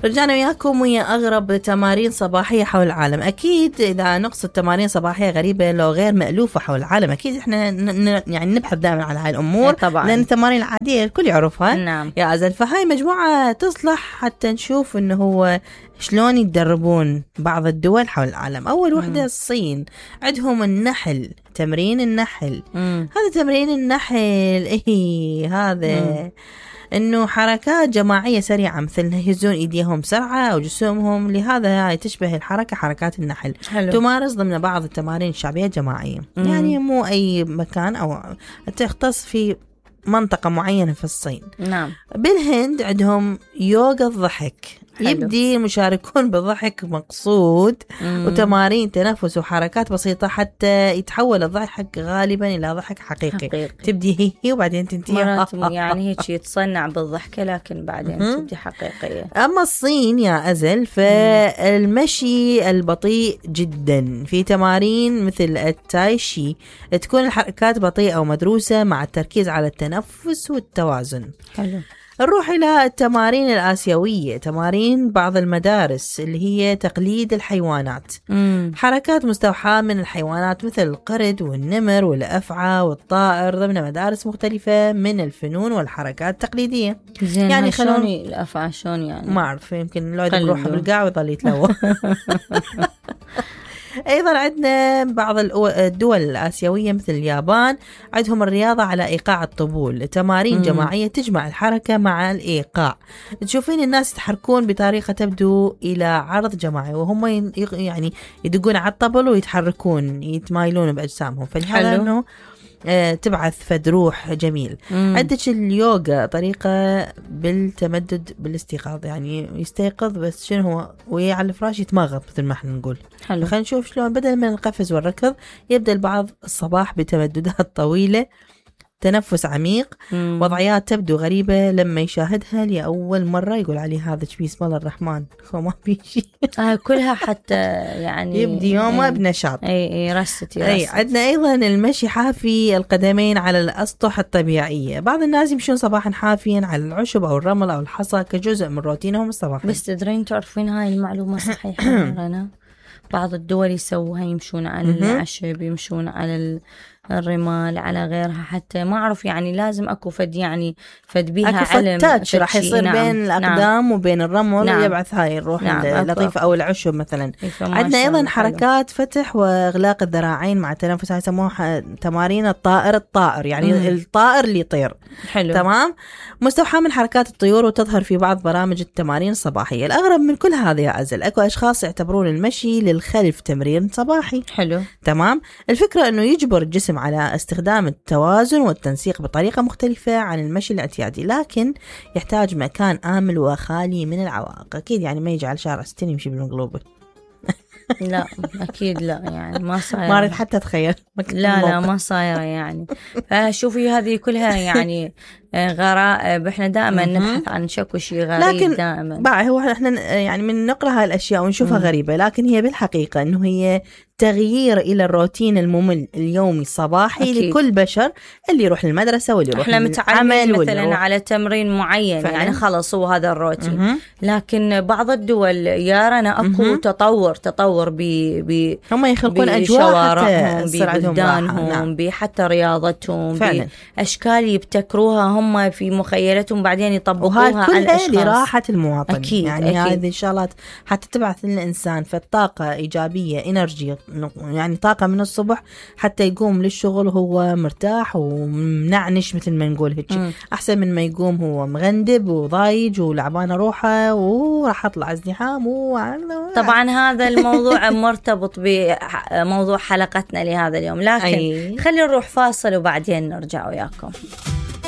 رجعنا وياكم ويا أغرب تمارين صباحية حول العالم. أكيد إذا نقصد تمارين صباحية غريبة لو غير مألوفة حول العالم، أكيد إحنا يعني نبحث دائما على هاي الأمور طبعا، لأن التمارين العادية الكل يعرفها. نعم. يا أزل، فهاي مجموعة تصلح حتى نشوف إنه هو شلون يتدربون بعض الدول حول العالم. أول وحدة الصين، عندهم النحل، تمرين النحل. هذا تمرين النحل هذا إنه حركات جماعية سريعة، مثل يهزون إيديهم بسرعة أو جسومهم، لهذا هاي تشبه الحركة حركات النحل. حلو. تمارس ضمن بعض التمارين الشعبية الجماعية. يعني مو أي مكان أو تختص في منطقة معينة في الصين. نعم. بالهند عندهم يوغا الضحك. حلو. يبدي المشاركون بالضحك مقصود وتمارين تنفس وحركات بسيطة حتى يتحول الضحك غالبا إلى ضحك حقيقي. تبدي هي وبعدين تنتهي يعني هيك يتصنع بالضحكة لكن بعدين تبدي حقيقية. أما الصين يا أزل فالمشي البطيء جدا، في تمارين مثل التايشي تكون الحركات بطيئة ومدروسة مع التركيز على التنفس والتوازن. حلو. نروح إلى التمارين الآسيوية، تمارين بعض المدارس اللي هي تقليد الحيوانات. حركات مستوحاة من الحيوانات مثل القرد والنمر والأفعى والطائر ضمن مدارس مختلفة من الفنون والحركات التقليدية. يعني شلون الأفعى شلون يعني؟ ما أعرف، يمكن لو يروح بالقاع ويضل يتلوى. أيضا عندنا بعض الدول الآسيوية مثل اليابان، عندهم الرياضة على إيقاع الطبول، تمارين جماعية تجمع الحركة مع الإيقاع. تشوفين الناس يتحركون بطريقة تبدو إلى عرض جماعي، وهم يعني يدقون على الطبل ويتحركون يتمايلون بأجسامهم، فلهذا أنه تبعث فد روح جميل. عندك اليوغا طريقة بالتمدد بالاستيقاظ، يعني يستيقظ بس شنو هو ويا على الفراش يتمغط مثل ما احنا نقول. حلو. خلينا نشوف شلون بدل من القفز والركض يبدأ البعض الصباح بتمددات طويلة، تنفس عميق، وضعيات تبدو غريبة لما يشاهدها لأول مرة يقول عليه هذا بسم الله الرحمن ما في شيء. كلها حتى يعني يبدي يومه بنشاط. اي رست. عندنا أيضا المشي حافي القدمين على الأسطح الطبيعية. بعض الناس يمشون صباحا حافيا على العشب أو الرمل أو الحصى كجزء من روتينهم الصباحي. بس تدرين تعرفين هاي المعلومة صحيحة؟ أنا بعض الدول يسووها، يمشون على العشب، يمشون على الرمال، على غيرها، حتى ما أعرف يعني لازم أكو فد يعني فد بيها علم فتاتش راح يصير بين الأقدام وبين الرمل. ويبعث هاي الروح اللطيفة أو العشب مثلا. عندنا أيضا حركات فتح وإغلاق الذراعين مع التنفس، هاي يسموها تمارين الطائر يعني الطائر اللي يطير. حلو. تمام. مستوحاة من حركات الطيور وتظهر في بعض برامج التمارين الصباحية. الأغرب من كل هذا يا أزل، أكو أشخاص يعتبرون المشي للخلف تمرين صباحي. حلو. تمام. الفكرة أنه يجبر الجسم على استخدام التوازن والتنسيق بطريقة مختلفة عن المشي الاعتيادي، لكن يحتاج مكان آمن وخالي من العوائق. أكيد يعني ما يجي على شارع 60 يمشي بالمقلوبة. لا أكيد لا، يعني ما صاير. ما أريد حتى أتخيل. لا ما صايرة يعني. فشوفي هذه كلها يعني غرائب. احنا دائما نبحث عن شكو شيء غريب، لكن دائما بقى هو احنا يعني من نقرأ هاي الأشياء ونشوفها غريبة، لكن هي بالحقيقة إنه هي تغيير إلى الروتين الممل اليومي الصباحي. أكيد. لكل بشر اللي يروح للمدرسة واللي يروح احنا متعلمين مثلا على تمرين معين فعلا. يعني خلص هو هذا الروتين. لكن بعض الدول يارنا أكو تطور هم يخلقون أجواء ببلدانهم، بحتى رياضتهم، بأشكال يبتكروها هم في مخيلتهم بعدين يطبقوها على الأشخاص لراحة المواطن. أكيد. يعني هذه الشغلات حتى تبعث للإنسان فالطاقة إيجابية، إنرجي، يعني طاقة من الصبح حتى يقوم للشغل وهو مرتاح ومنعنش مثل ما نقول هيك، أحسن من ما يقوم هو مغندب وضايج ولعبان روحه وراح أطلع ازدحام. طبعا هذا الموضوع مرتبط بموضوع حلقتنا لهذا اليوم، لكن خلينا نروح فاصل وبعدين نرجع وياكم.